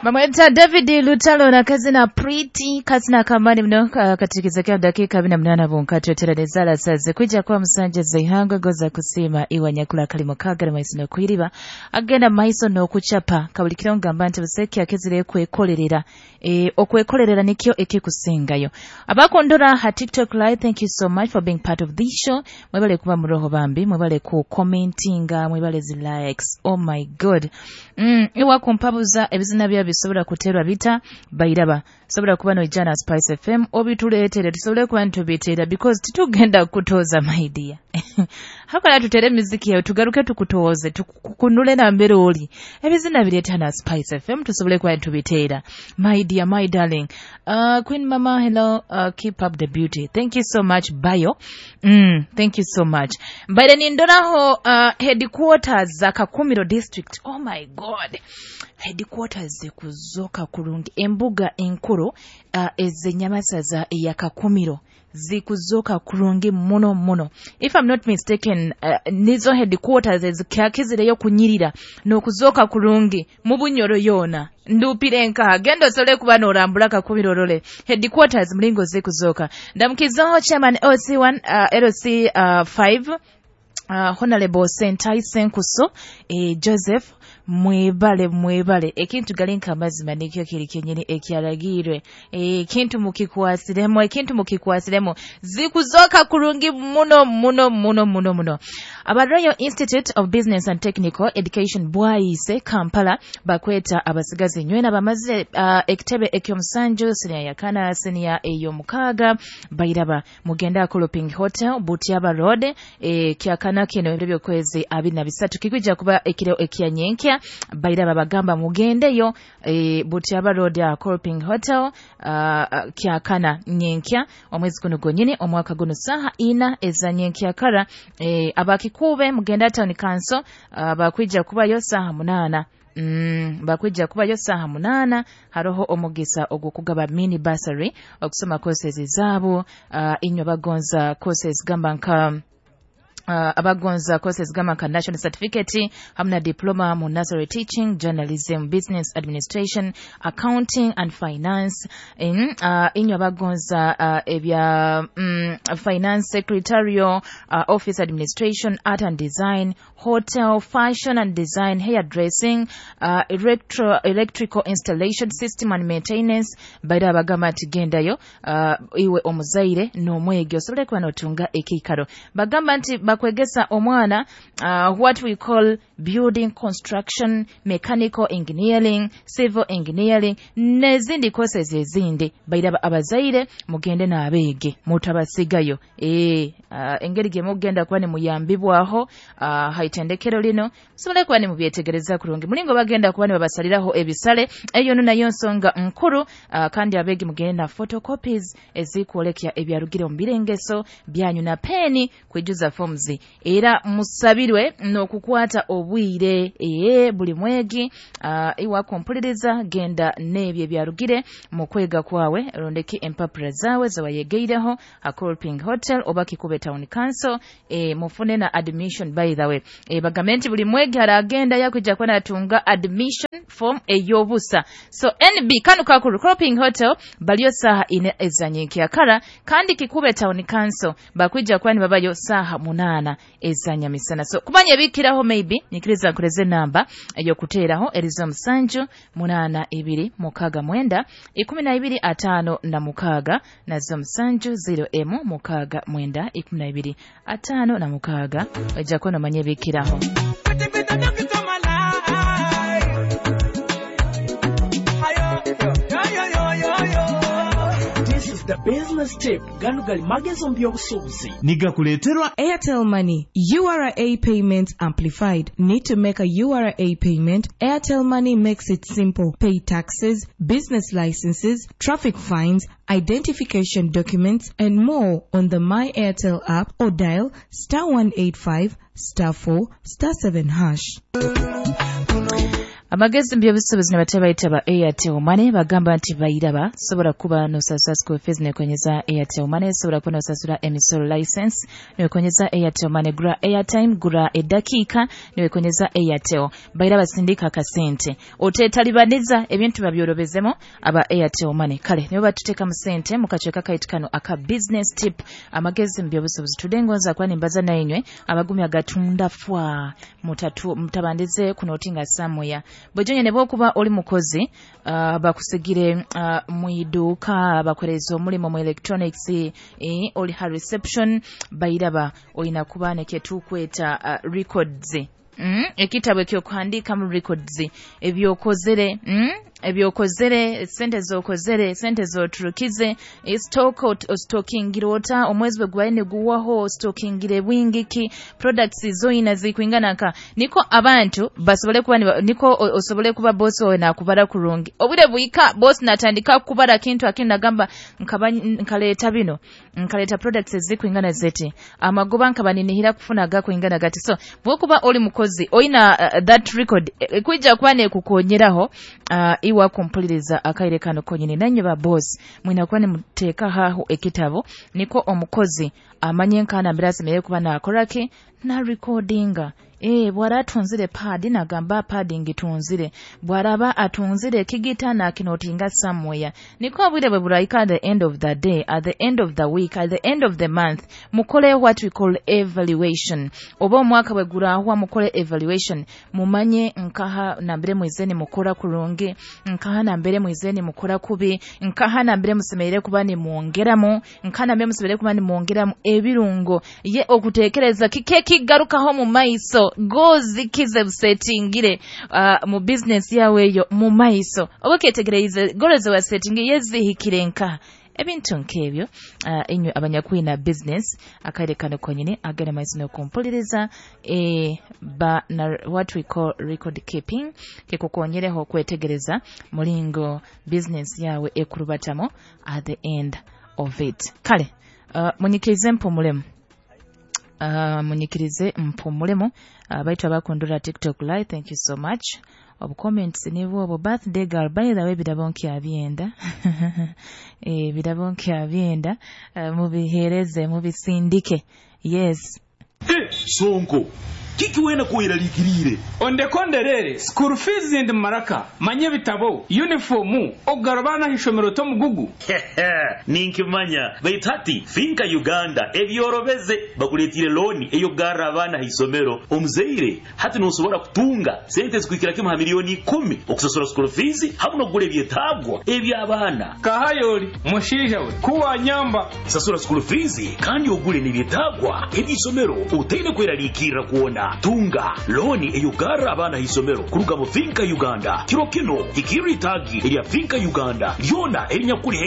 Bamweta David Lutalo na kazina Pretty, kazina kamani mno katikizekea dakika 28 bunkato teranezala saze kwijja kwa musanja zaihangwe goza kusima iwa nyakula kalimo kagara maiso no kwiriba agenda maiso no kuchapa kabulikiro ngamba nti buseki akezire kwekolerera okwekolerera nikyo ekikusingayo. Abakondora ha TikTok live, thank you so much for being part of this show. Mwebale kuba muroho bambi, mwebale ku commentinga, mwebale zi likes. Oh my God. Iwa kumpabuza ebizina bya bisobola kuterwa bita bairaba. Sobola kuba no ijana Spice FM obituleetere tusobole kuba ntubiteera because titugenda kutoza, my dear. Hakala tutere muziki yawe tugaruke tukutoze tukunule na mbere oli. Ebizina bireeta na Spice FM tusobole kuba ntubiteera. My dear, my darling. Queen Mama, hello, keep up the beauty. Thank you so much, Bayo. Thank you so much. Mbaire nindoraho headquarters za Kakumiro district. Oh my God. Headquarters zikuzoka kurungi embuga enkuru ezenyamasaza ya Kakumiro zikuzoka kurungi muno muno. If I'm not mistaken, nizo headquarters ezikyakizireyo kunyirira n'okuzoka kurungi mu Bunyoro yona. Ndupire nkaha gendo sole kuba norambula Kakumiro role headquarters mlingo zikuzoka. Ndamukizaho chairman OC1 LC 5 Honorable Sentai Senkuso Joseph, mwebale mwebale. Ekintu galinka amazima nikyo kiri kenyini ekyalagirwe. Ekintu mukikwasiremu, ekintu mukikwasiremu zikuzoka kurungi muno muno muno muno muno. Aba Royal Institute of Business and Technical Education Bwaise Kampala bakweta abasigazi nywena bamaze ekitebe ekyomusanju senior yakana senior ey'omukaaga bairaba mugenda Koloping Hotel Butiaba Road kyakana kino ebyo by'okwezi 23 kikwijja kuba ekiro ekyanyenkya bairaba bagamba mugendeyo Butiaba Road ya Koloping Hotel kyakana nyenkya omwezi guno gonyini omwaka guno saha 4 ezanyenkya kara. Abakikube mugenda town council bakwijja kubayo saha 8. Bakwijja kubayo saha 8 haroho omugisa ogwokugaba mini bursary okusoma courses zaabo. Inywe bagonza courses gamba nka abagonza courses gamba nka national certificate hamna diploma mu nursery teaching, journalism, business administration, accounting and finance. Inywe abagonza ebya finance secretarial, office administration, art and design, hotel, fashion and design, hair dressing, electrical installation system and maintenance. Baira abagamba nti gendayo iwe omuzaire n'omwegi osobole kuba n'otunga ekiikaro. Bagamba nti bakwegesa omwana what we call building construction, mechanical engineering, civil engineering n'ezindi courses ezindi. Bairaba abazaire mugende n'abeege mutabasigayo. Engeri gye mugenda kuba nimuyambibwaho haitendekero lino musobole kuba nimubyetegereza kurungi. Mulingo bagenda kuba nibabasaliraho ebisale eyo no nayo nsonga nkuru. Kandi abeegi mugende na photocopies ezikwolekya ebyarugire mu birengeso byanyu na peni kwijuza forms. Era musabirwe n'okukwata obwire buli mwegi iwa kompuliriza genda n'ebyo ebyarugire mu kwega kwawe rondeki empapura zawe zawayegeireho a Kolping Hotel oba Kikube Town Council. Mufune na admission by the way. Bagambe nti buli mwegi aragenda yakwijja kuba natunga admission form ey'obusa. So NB kanu kakuru Kolping Hotel baliyo saha 4 ezanyenkya kandi Kikube Town Council bakwijja kuba nibabayo saha 8 ezanyamisana. So kumanya ebikiraho maybe nikiriza nkureze namba eyokuteeraho erizo 7 8 2 6 9 12 5 na 6 nazo 7 0 M 6 9 12 5 na 6 ojja kuba nomanya ebikiraho. This is the business tip. Gano gali magezo mbyobusuubuzi. Nigakuleeterwa Airtel Money. URA payments amplified. Need to make a URA payment? Airtel Money makes it simple. Pay taxes, business licenses, traffic fines, identification documents, and more on the My Airtel app or dial *185 *4 *7#. Amagezi mu by'obusuubuzi nibateebaita ba Airtel Money, bagamba nti bairaba sobola kuba nosasura school fees nekonyeza Airtel Money, sobola kuba nosasura emisolo license nekonyeza Airtel Money, gura airtime, gura edakiika nekonyeza Airtel. Bairaba sindika akasente oteetalibaniza ebintu babyorobezemu aba Airtel Money. Kale nibo batuteekamu sente mu kacweka kaitu kano aka business tip, amagezi mu by'obusuubuzi. Tudde ngonza kuba nimbaza nainywe abagumya gatunda fwa mutabandize kunotinga samuya bwejonye ne bwokuba oli mukozi, bakusigire mu iduuka, bakuhereza omulimu mu electronics, oli ha reception, bairaba oyina kuba nekyetukweta records, ekitabo ekyokuhandiikamu records ebyokozere, ebyokozere, sente zokozere, sente zoturukize, stock ostokingire ota omwezi bwe gubaire niguwaho, ostokingire bwingiki, products zoyina zikwingana nka, niko abantu basobole kuba niko osobole kuba boss wawe nakubara kurungi. Obwire bwika boss natandika kubara kintu akini nagamba nkaleeta bino, nkaleeta products ezikwingana zeti, amagoba nkaba ninihira kufuna gakwingana gati. So bwokuba oli mukozi oyina that record kwija kuba nekukonyeraho iwa kumpuliriza akaire kano konyini. Nanywe ba boss mwina kuba nimuteeka haho ekitabo niko omukozi amanye nkana mbere asemerere kuba nakoraki na recordinga. Bwara atunzire pad nagamba pad ngitunzire, bwaraba atunzire ekigita nakinotinga somewhere, niko obwire bwe buraika at the end of the day, at the end of the week, at the end of the month mukole what we call evaluation, oba omwaka bwe gurahwa mukole evaluation, mumanye nkaha nambere mwizeni mukora kurungi, nkaha nambere mwizeni mukora kubi, nkaha nambere musemerere kuba nimwongeramu, nkaha nambere musemerere kuba nimwongeramu ebirungo ye okutekereza kike kigarukaho mu maiso gozi kize busetingire mu business yawe eyo mu maiso, oba ketegereize goals wa setting yezihikire nka ebintu nk'ebyo. Inywe abanyakwina business akaire kano konyini agenda maiso n'okumpuliriza, ba na what we call record keeping kikukonyereho kwetegereza mulingo business yawe ekurubatamu at the end of it. Kale munyikirize mpumulemu, munyikirize mpumulemu. Baitu abakundura TikTok live, thank you so much. Obu comments nibwo obwo. Birthday girl, by the way, birabo nkyabyenda, birabo nkyabyenda, mubihereze mubisindike, yes. Sonko, kiki wena kuweralikirire? Ondekonderere school fees ndi maraka manye bitabo uniform ogarabana hishomero tomugugu. Ninkimanya, baitu hati Finka Uganda ebyorobeze bakuletire looni eyokugarra abaana haisomero. Omuzaire hati nosobora kutunga sente zikuhikira kimu ha miliyoni 10 okusasura school fees hamu n'okugura ebyetaagwa eby'abaana. Kahayoli mushiija we kuwanyamba. Sasura school fees kandi ogule n'ebyetaagwa eby'isomero otaine kweraliikirra kwona. Tunga looni eyokugarra abaana haisomero kuruga mu Finka Uganda. Kiro kino hikirra itaagi erya Finka Uganda lyona erinyakuli.